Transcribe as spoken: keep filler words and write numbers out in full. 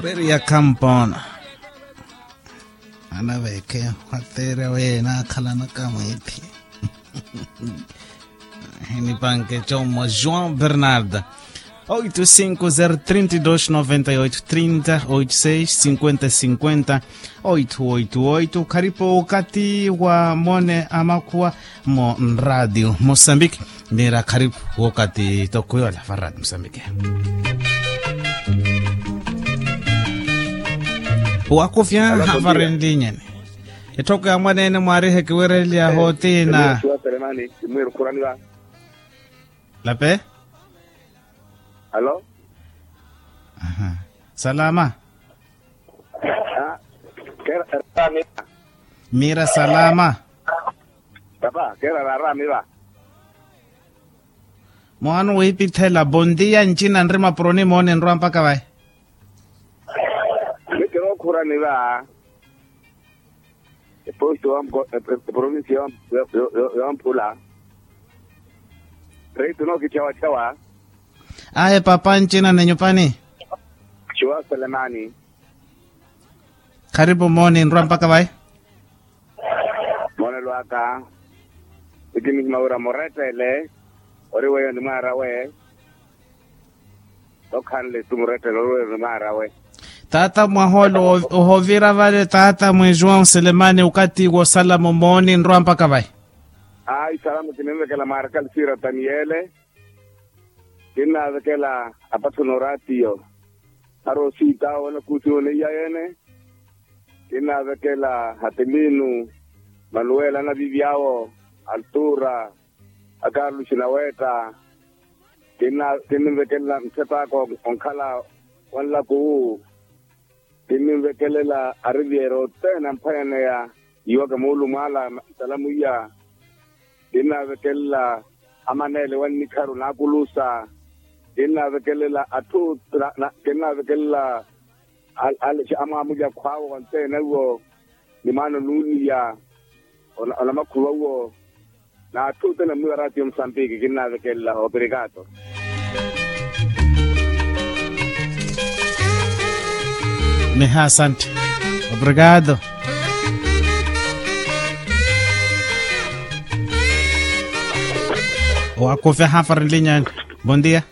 Peri ya kampona. Anaveekhe, wateerya weyo enaakhalanaka mwiithi. Hinipanke commo joão bernarda. Oito cinco zero trinta e dois noventa e oito trinta oito seis cinquenta cinquenta. Oito oito oito kharipo wakati wa mone amakhuwa. Mu nradio musambiki. Mira kharipu wokati toko yola va radio musambiki. Wakufya. Havarenlinyeni. Etthoko ya mwaneene mwaarihe kiwereliya hotina. Lape. Alo. Salama. Mira salama. Papa kera raramiva. Mwaano wiipithela bondia ncina nrima proni moone nrwa mpaka vayi. Mitiro okhuraniva. Eposto eprovinsi yomphula. Reito nookithyawathyaw'a. Ahe papa ncina nenyupani. Cuwa selemani. Kharipu mooni nrwa mpaka vayi. Moonelo aka. Eki nihima wira murettele ori weyo ni mwaarawe. Okhanle tu murettele ori weyo ni mwaarawe. Taata mwahoolo ohovira vale taata mwijuwa nselemani okati wosala mumooni nrwa mpaka vayi. Ayi salamu kininvekela mwaaraka lisira taniyele. Kinnavekela apatho noraatiyo. Arosita wanakuti oneiya yene. Kinnavekela hatiminu manuwela anavivi awo. Altura akarluxi nawetta. Kinnivekelela nthepaka onkhala wanlakuwu. Kinnivekelela ariviyeerya othene amphwanyaneya. Iwaka moolumo ala ntalamu iya. Kinnaavekelela amaneele wannikharu naakulusa. Kinnaavekelela atthu kinnaavekelela amwaamulya akhwaawo onteene iwo. Ni maana onuuniya onamakhuva uwo. N'atthu othene mwiwa raatiyo musambiki kinnaavekelela operikato. Miha asanti. Operikato. Owakufya hafa rinlinyani. Bondia.